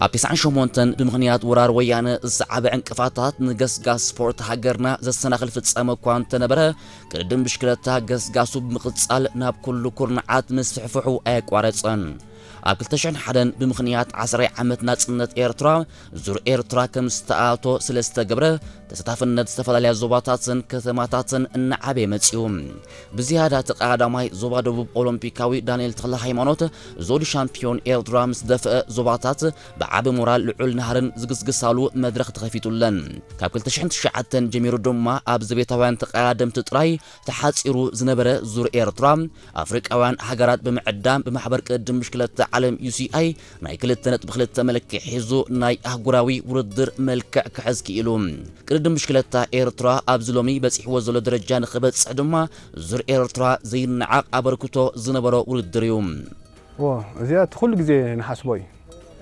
ኣብ ተስዓን ሸሞንተን ብምኽንያት ወራር ወያነ ዝሰዓበ ዕንቅፋታት ንገስጋስ ስፖርት ሃገርና ዘሰናኽል ፍጻመ እኳ እንተነበረ፣ ቅድድም ብሽክለታ ገስጋሱ ብምቕጻል ናብ ኩሉ ኩርናዓት ምስፍሕፍሑ ኣየቋረጸን። ኣብ ክልተ ሽሕን ሓደን ብምኽንያት ዓስራይ ዓመት ናጽነት ኤርትራ ዙር ኤርትራ ከም ዝተኣቶ ስለ ዝተገብረ፣ ተሳታፍነት ዝተፈላለያ ዞባታትን ከተማታትን እናዓበየ መጺኡ። ብዝያዳ እቲ ቀዳማይ ዞባ ደቡብ ኦሎምፒካዊ ዳንኤል ተኽለ ሃይማኖት ዞዲ ሻምፒዮን ኤርትራ ምስ ደፍአ፣ ዞባታት ብዓቢ ሞራል ልዑል ናህርን ዝግስግሳሉ መድረኽ ተኸፊቱለን። ካብ ክልተ ሽሕን ትሽዓተን ጀሚሩ ድማ ኣብ ዘቤታውያን ተቐዳደምቲ ጥራይ ተሓጺሩ ዝነበረ ዙር ኤርትራ፣ ኣፍሪቃውያን ሃገራት ብምዕዳም ብማሕበር ቅድድም ብሽክለታ ዓለም ዩ ሲ ኣይ ናይ ክልተ ነጥቢ ክልተ መልክዕ ሒዙ ናይ ኣህጉራዊ ውድድር መልክዕ ክሕዝ ክኢሉ። ቅድድም ብሽክለታ ኤርትራ ኣብዚ ሎሚ በጺሕዎ ዘሎ ደረጃ ንኽበጽሕ ድማ ዙር ኤርትራ ዘይነዓቕ ኣበርክቶ ዝነበሮ ውድድር እዩ። እዚኣ እቲ ኩሉ ግዜ ንሓስቦ እዩ።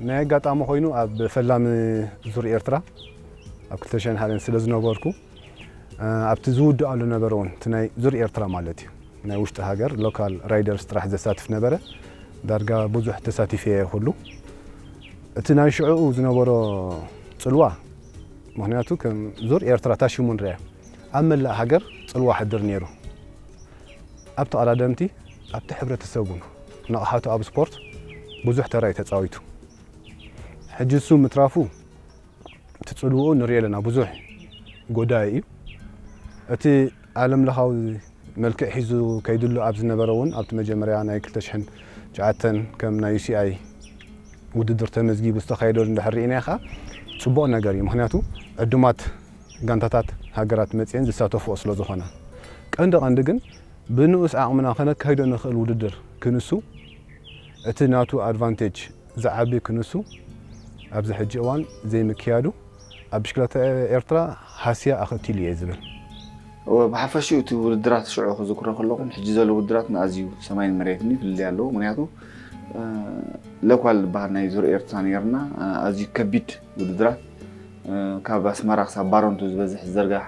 ናይ ኣጋጣሚ ኮይኑ ኣብ ፈላሚ ዙር ኤርትራ ኣብ ክልተ ሽሕን ሓደን ስለ ዝነበርኩ፣ ኣብቲ ዝውድኣሉ ነበረ እውን እቲ ናይ ዙር ኤርትራ ማለት እዩ፣ ናይ ውሽጢ ሃገር ሎካል ራይደርስ ጥራሕ ዘሳትፍ ነበረ። ዳርጋ ብዙሕ ተሳቲፈ እየ ኩሉ። እቲ ናይ ሽዕኡ ዝነበሮ ጽልዋ፣ ምኽንያቱ ከም ዙር ኤርትራ ታሽሙ ንርያ ኣብ መላእ ሃገር ጽልዋ ሕድር ነይሩ። ኣብ ተቐዳደምቲ፣ ኣብቲ ሕብረተሰብ እውን ንቕሓቱ ኣብ ስፖርት ብዙሕ ተራ እዩ ተጻዊቱ። ሕጂ እሱ ምትራፉ እቲ ጽልውኡ ንሪኦ ኣለና፣ ብዙሕ ጎዳኢ እዩ። እቲ ዓለም ለኻዊ መልክዕ ሒዙ ከይድሉ ኣብ ዝነበረ እውን ኣብቲ መጀመርያ ናይ ክልተ ሽሕን ትሽዓተን ከም ናይ ዩ ሲ ኣይ ውድድር ተመዝጊቡ ዝተኻየደሉ እንድሕር ርኢናዮ ከዓ ጽቡቕ ነገር እዩ። ምኽንያቱ ዕዱማት ጋንታታት ሃገራት መፅየን ዝሳተፍኦ ስለ ዝኾና ቀንዲ ቀንዲ ግን ብንኡስ ዓቕምና ከነካይዶ ንኽእል ውድድር ክንሱ እቲ ናቱ ኣድቫንቴጅ ዝዓቢ ክንሱ ኣብዚ ሕጂ እዋን ዘይምክያዱ ኣብ ብሽክለታ ኤርትራ ሃስያ ኣኸቲሉ እየ ዝብል። እወ፣ ብሓፈሽኡ እቲ ውድድራት ሽዑ ክዝክሮ ከለኹ፣ ሕጂ ዘሎ ውድድራት ንኣዝዩ ሰማይን መሬትን እዩ ፍልልይ ኣለዎ። ምክንያቱ እ፣ ለኳል ዝበሃል ናይ ዙር ኤርትራ ነይርና፣ እ፣ ኣዝዩ ከቢድ ውድድራት፣ እ፣ ካብ ኣስመራ ክሳብ ባረንቱ ዝበዝሕ ዝዘርጋሕ